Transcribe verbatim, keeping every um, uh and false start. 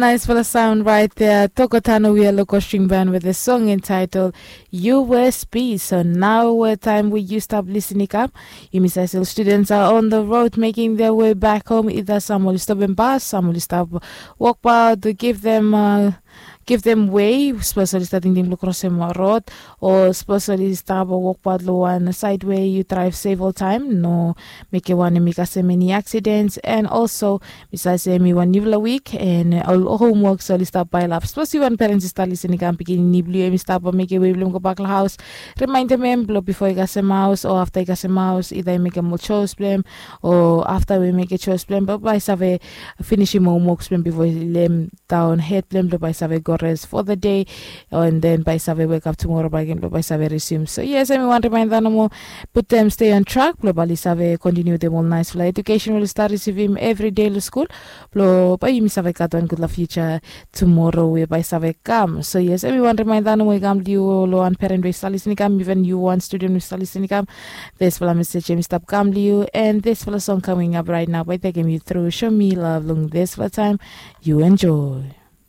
Nice for the sound right there. Tokotano we are local string band with a song entitled U S P. So now where time we you stop listening up. Yumi sasel students are on the road making their way back home. Either some will stop and bus, some will stop walk by to give them uh, give them way, especially starting them cross them road, or especially stop or walk by the one side where you drive several time. No, make it one and make us many accidents. And also besides mi wan nivla wik en ol homework so oli stap pailap. Sapos yu wan parents i stap lisin i kam pikinini blo yu em i stap mekem wei blo em go bak long haus, rimaindim em blo bifo i kasem haus o afta i kasem haus, ida i mekem ol chores blo em o afta we i mekem chores blo em blo bai i save finisim homeworks blo em bifo i lem daon hed blo em blo bai i save go res fo the day. And then bai i save wekap tumora bai gen blo bai i save resume. So yes, em i wan rimainda nomo, putem stay on track blo bai oli save kontiniu wetem ol naispela edukesen we oli stap risivim evri dei long skul, blo bai yumi save gat wan gutpela future tumoro we bai save kam. So yes, em i wan rimainda nomo i kam long yu, long wan peren we i stap lisin i kam, iven yu wan studen we i stap lisin i kam. Dispela mesej em i stap kam long yu, and dispela song coming up right now bai tekem yu through show me love long dispela time. You enjoy.